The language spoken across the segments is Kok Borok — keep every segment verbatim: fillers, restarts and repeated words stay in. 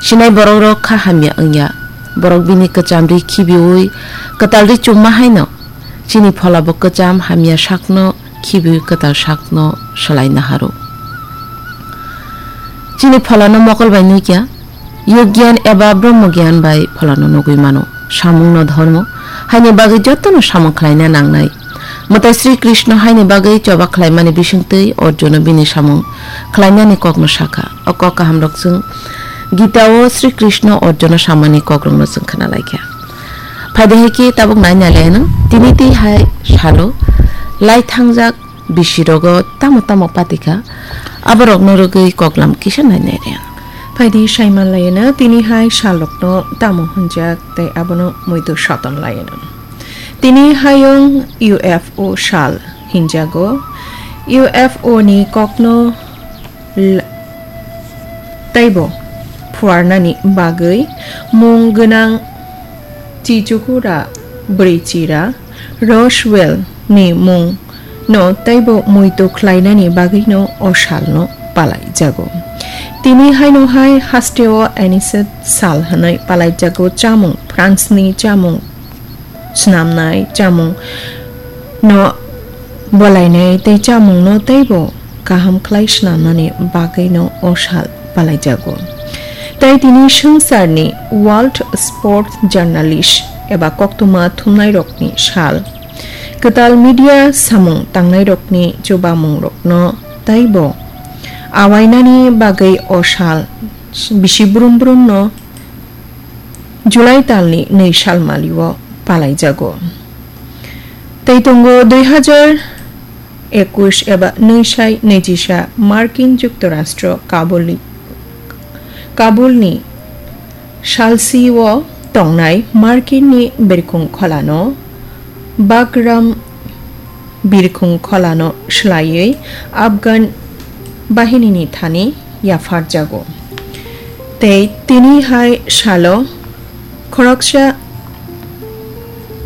Sinai borok rok kha hamya wngya. Borok bini kwcham ri khibiui kwtal ri chumma haino chini phola bo kwcham hamya sakno khibiui kwtal sakno swlai naharo. Chini pholano mokol bai nuikya, yug gyan eba brahma gyan bai pholano nugui mano. Samungno dhormo haini bagwi jotono samung khlaina nangnai. Mwtai Sri Krishna haini bagwi choba khlaimani bisingtwi Arjuno bini samung khlainani kokno sakha. O kok kahamrok chwng Gita-o Sri Krishna Arjuno samani kokrokno chwng khna laikha. Phaidi hai khe tabuk nai nai laino tini twi hai salo lai thangjak bisirogo tamo tamo patikha, aborokno rwgwi koklam kisa nai nai rw. Phaidi saiman laino tini hai salrokno tamo hwnjak tei abono muitu soton laino. Tini hayung U F O sal hinjago. U F O ni kokno l-, teibo phuarnani bagwi mung gwnang Chichukura Brichira Roswell ni mung no teibo muitu khlainani bagwino o salno palaijago. Tini haino hai hasteo Anisette sal hwnwi palaijago chamung, France ni chamung swnamnai, chamung no bolainai tei chamung no teibo kaham khlai swnamnani bagwi no o sal palaijago. Tei tini swngcharni World Sports Journalist eba koktwma thumnairokni sal. Kwtal media samung tangnairokni chubamungrokno teibo awainani bagwi o sal bisi brum brumno July talni nwi salmalio palaijago. Tei tongo dui hazar ekush eba nwi sai nwi jisa Markin Juktorastro Kabulni, Kabulni salsio tongnai Markinni birkhung kholano Bagram birkhung kholano swlaiwi Afghan bahinini thani yapharjago. Tei tini hai salo khoroksa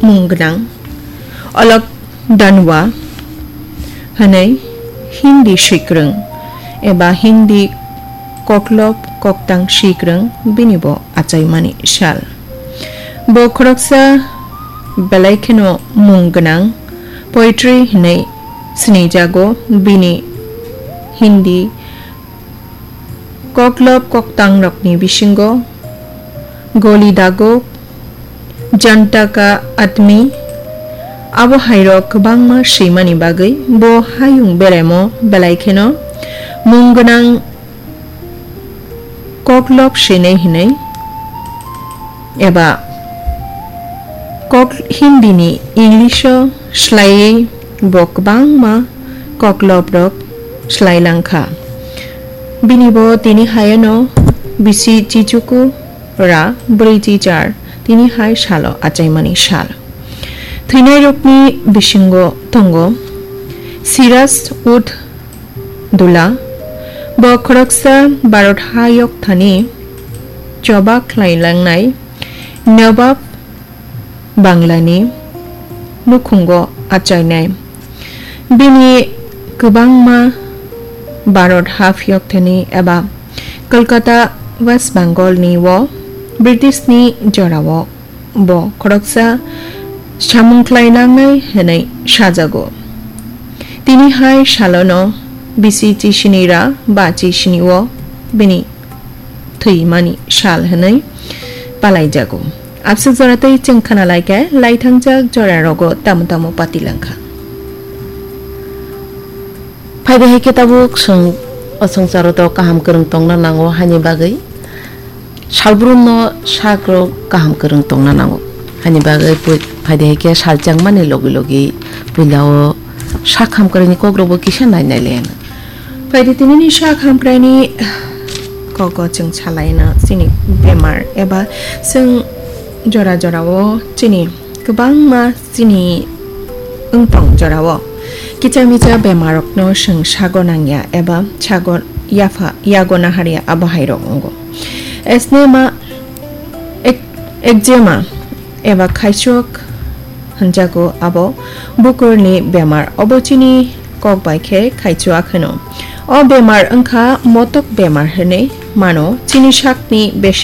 mung gwnang Alok Danwa hwnwi Hindi swikwrwng eba Hindi koklop koktang swikwrwng bini bo achaimani sal. Bo khoroksa belai kheno mung gwnang poetry hwnwi sinijago. Bini Hindi koklop koktangrokni bisingo Goli Dagok, Janta Ka Admi, abo hairok kwbangma swimani bagwi bo hayung beremo belai kheno mung gwnang koklop swinai hinwi eba kok Hindi ni English o swlaiwi bo kwbangma koklop rok swlai langkha. Bini bo tini hayano bisi chichuku ra bwrwi chichar tini hai salo achaimani sal. Thwinairokni bisingo tongo Siraj ud Dula, bo khoroksa Bharat hayok thani choba khlai langnai Nawab Banglani nukhungo achainai. Bini kwbangma Bharat haphiyok thani eba Kolkata West Bengal ni o British ni jorao bo khoroksa samung khlai nangnai hwnwi sajago. Tini hai salono bisi chisini ra ba chisini o bini thwimani sal hwnwi palaijago. Abswk jora tei chwng khna lai khe laithangjak jora rogo tamo tamo pati langkha. Phaidi hai khe tabuk chwng o swngcharo to kaham kwrwng tongna nango hani bagwi. Salbrumno sakrok kaham kwrwng tongna nango. Hani bagwi pui-, phaidi hai khe salchangmani logi logi puila o sak hamkraini kokrokbo kisa nai nai le. Phaidi tinini sak hamkraini kogo chwng salaina chini bemar eba chwng jora jora o chini kwbangma chini wngtong jorao kicha micha bemarokno chwng sago nangya eba sago yapha yago naharya abo hairok wngo. Asthma, ek-, eczema eba khaichuk hwnjago abo bukurni bemar. Obo chini kok bai khe khaichuak hwno. O bemar wngkha motok bemar hwnwi mano. Chini sakni bese